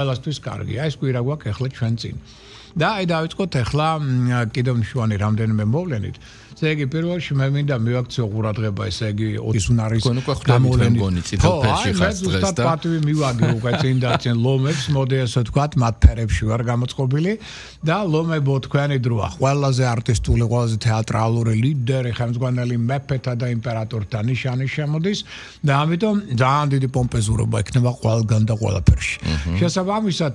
ყველასთვის კარგია. ეს კვირა გვაქვს ახლა ჩვენ წინ. და აი დავიწყოთ ახლა კიდევ მნიშვნელოვანი რამდენიმე მოვლენით. ესე იგი პირველში მე მინდა მივაქციო ყურადღება, ესე იგი ის უნარის გამოვლენით წითელ ფერში ხარ დღეს და პატივი მივაგე უკვე წინ და წინ ლომებს, მოდი ასე ვთქვათ, მათ ფერებში ვარ გამოწყობილი და ლომებო თქვენი დროა. ყველაზე არტისტული, ყველაზე თეატრალური ლიდერი, ხელმძღვანელი მეფეთა და იმპერატორთა ნიშანი შემოდის და ამიტომ ძალიან დიდი პომპეზურობა ექნება ყველგან და ყველაფერში. შესაბამისად,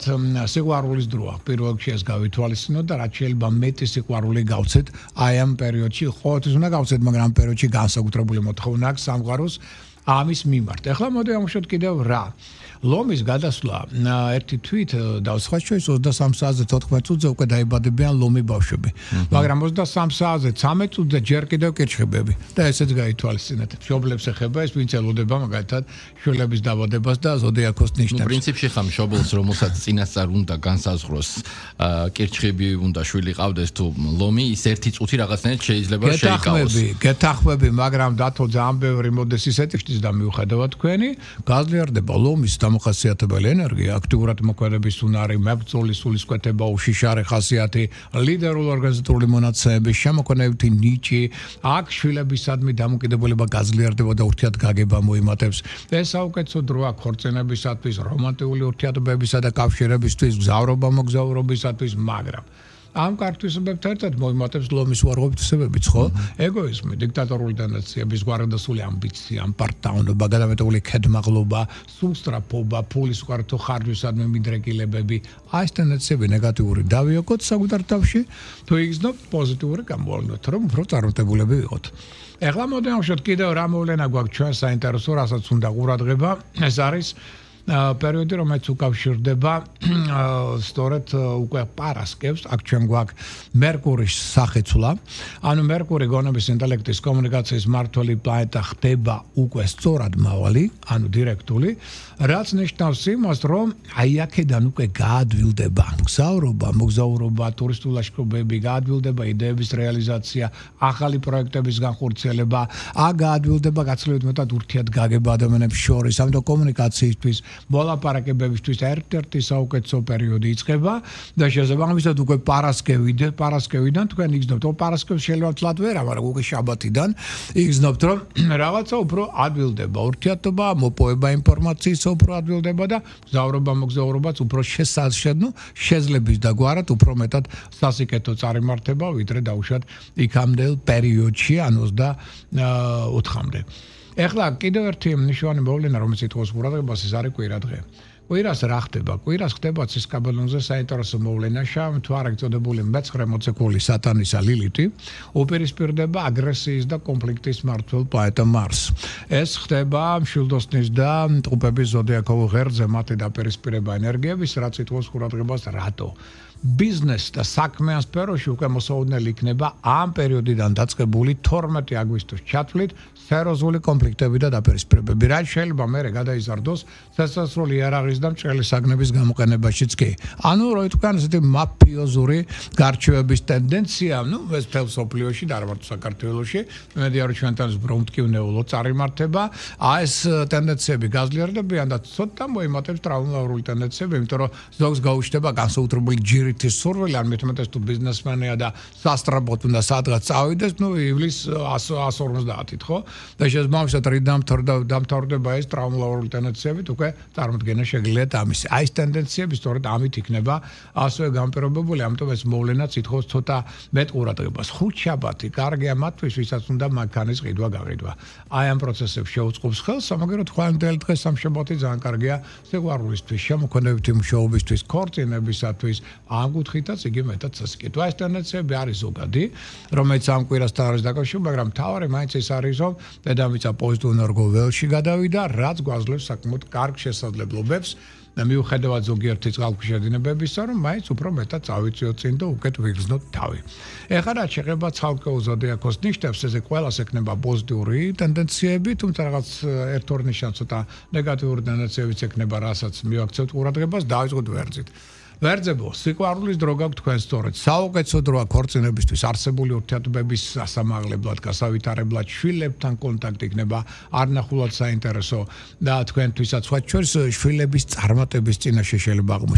სიყვარულის დროა. პირველ რიგში ეს გავითვალისწინოთ და რაც შეიძლება მეტი სიყვარული გავცეთ აი ამ პერიოდში. ყოველთვის უნდა გავცეთ, მაგრამ ამ პერიოდში განსაკუთრებული მოთხოვნა აქვს სამყაროს ამის მიმართ. ახლა მოდი ამოშოთ კიდევ რა. ლომის გადასვლა ერთი თვით დავსხვა ჩვენს 23 საათზე 14 წუთზე უკვე დაიბადებიან ლომი ბავშვები. მაგრამ 23 საათზე 13 წუთზე ჯერ კიდევ კირჩხიბები და ესეც გაითვალისწინეთ. მშობლებს ეხება ეს, ვინც ელოდება მაგალითად შვილების დაბადებას და ზოდიაქოს ნიშნებს. პრინციპში ხა მშობელს რომელსაც წინასწარ უნდა განსაზღვროს კირჩხიბი უნდა შვილი ყავდეს თუ ლომი, ის ერთი წუთი რაღაცნაირად შეიძლება შეიკავოს. გეთახმები, მაგრამ დათო ძალიან ბევრი მოდეს ისეთი ხდის და მიუხედავად თქვენი გაძლიერდება ლომის დამახასიათებელი ენერგია, აქტიურად მოქმედების უნარი, მებრძოლი სულისკვეთება, უშიშარი ხასიათი, ლიდერული ორგანიზატორული მონაცემები, შემოქმედებითი ნიჭი, აქ შვილებისადმი დამოკიდებულება გაძლიერდება და ურთიერთგაგება მოიმატებს. ეს საუკეთესო დროა ქორწინებისათვის, რომანტიკული ურთიერთობებისა და კავშირებისთვის, გზავრობა-მოგზაურობისათვის, მაგრამ ამ კარტვისებებთან ერთად მოიმატებს ლომის უარყოფითობებიც, ხო? ეგოიზმი, დიქტატორული ტენდენციები, გვარადასული ამბიცია, პარტაუნობა, გადამეტებული ქედმაღლობა, სულსწრაფობა, ფულის უყარათო ხარჯვისადმი მიდრეკილებები, აი ეს ტენდენციები ნეგატიური დავიოკოთ საკუთარ თავში, თუ იგრძნობთ პოზიტიური გამოვლენით, რომ უფრო წარმატებულები ვიყოთ. ეხლა მოდი ამოშოთ კიდევ რა მოვლენა გვაქვს ჩვენ საინტერესო, რასაც უნდა ყურადღება, ეს არის პერიოდი, რომელიც უკავშირდება სწორედ უკვე პარასკევს, აქ ჩვენ გვაქვს მერკურის სახეცვლა. ანუ მერკური გონების ინტელექტის კომუნიკაციის მმართველი პლანეტა ხდება უკვე სწორად მავალი, ანუ დირექტული, რაც ნიშნავს იმას, რომ აი აქედან უკვე გაადვილდება გზავრობა, მოგზაურობა, ტურისტული ლაშქრობები, გაადვილდება იდეების რეალიზაცია, ახალი პროექტების განხორციელება, გაადვილდება გაცილებით მეტად ურთიერთგაგება ადამიანებს შორის, ამიტომ კომუნიკაციისთვის მოლაპარაკებებისთვის ერთ-ერთი საუკეთესო პერიოდი იწყება და შესაბამისად უკვე პარასკევიდან თქვენ იგრძნობთ, პარასკევს შეიძლება ვთვლათ ვერა, მაგრამ უკვე შაბათიდან იგრძნობთ, რომ რაღაცა უფრო ადვილდება ურთიერთობა, მოპოვება ინფორმაციის უფრო ადვილდება და მოგზაურობაც უფრო შეძლების და გვარად უფრო მეტად სასიკეთო წარიმართება, ვიდრე დაუშვათ იქამდელ პერიოდში, ან 24-მდე. ეხლა კიდევ ერთი მნიშვნელოვანი მოვლენა, რომელიც ითხოვს ყურადღებას, ეს არის კვირა დღე. კვირას რა ხდება? კვირას ხდება ცისკაბელონზე საინტერესო მოვლენა, შავ მთვარით წოდებული მეცხრე მოციქული სატანისა ლილითი უპირისპირდება აგრესიის და კონფლიქტის მმართველ პლანეტა მარსს. ეს ხდება მშვილდოსნის და ტყუპების ზოდიაქოვ ღერძზე მათი დაპირისპირება ენერგიების, რაც ითხოვს ყურადღებას რატო? ბიზნეს და საქმიან სფეროში უკვე მოსაოდნელი იქნება ამ პერიოდიდან დაწყებული 12 აგვისტოს ჩათვლით სერიოზული კონფლიქტები და დაპირისპირებები, რაც შეიძლება მერე გადაიზარდოს სასასრული იარაღის და მჭრელი საგნების გამოყენებაშიც კი. ანუ რო ითქვან, ესეთი მაფიოზური გარჩევების ტენდენცია, ეს მთელ სოფლიოში და არა მარტო საქართველოში, მედია რომ ჩვენთან ბრუნდკივნეულო წარიმართება, ეს ტენდენციები გაძლიერდებიან და ცოტა მოიმატებს ტრაუმატული ტენდენციები, იმიტომ რომ ზოგს გაუჩნდება განსაკუთრებული ჯირითის სურვილი, ან მეტ-მეტად თუ ბიზნესმენია და სასტრაფოდ უნდა სადღაც წავიდეს, ივლის 150-ით, ხო? და შესაბამისად დამთავრდება ეს ტრაუმატული ტენდენციებით, უკვე წარმოდგენა შეგიძლიათ ამისი. აი ეს ტენდენციები სწორედ ამით იქნება ასევე განპირობებული, ამიტომ ეს მოვლენაც ითხოვს ცოტა მეტ ყურადღებას. ხუთშაბათი კარგია მათთვის, ვისაც უნდა მანქანის ყიდვა გაყიდვა. აი ამ პროცესებს შეუწყობს ხელს, სამაგეროდ ხვალინდელი დღე სამშაბათი ძალიან კარგია სიყვარულისთვის, შემოქმედებითი მუშაობისთვის, ქორწინებისათვის, ამ კუთხითაც იგი მეტად სასიკეთო. ეს ტენდენციები არის ზოგადი, რომელიც ამ კვირასთან არის დაკავშირებული, მაგრამ მთავარი მაინც ეს არის, რომ დედამიწა პოზიტიურ ენერგიულ ველში გადავიდა, რაც გვაძლევს საკმაოდ კარგ შესაძლებლობებს და მიუხედავად ზოგიერთი წყალქვეშა დინებებისა, რომ მაინც უფრო მეტად წავიწიოთ წინ და უკეთ ვიგრძნოთ თავი. ეხლა რაც შეეხება ცალკეულ ზოდიაქოს ნიშნებს, ესე ყველას ექნება პოზიტიური ტენდენციები, თუმცა რაღაც ერთ-ორ ნიშანს ცოტა ნეგატიური ტენდენციებიც ექნება, რასაც მივაქცევთ ყურადღებას, დავიწყოთ ვერძით. ვერძებო, სიყვარულის დრო გაქვთ თქვენ სწორედ. საუკეთესო დროა ქორწინებისთვის, არსებული ურთიერთობების სასამაღლებლად, გასავითარებლად, შვილებთან კონტაქტი იქნება არნახულად საინტერესო და თქვენთვისაც სხვა შვილების წარმატების წინაშე შეიძლება აღმოჩნდეს.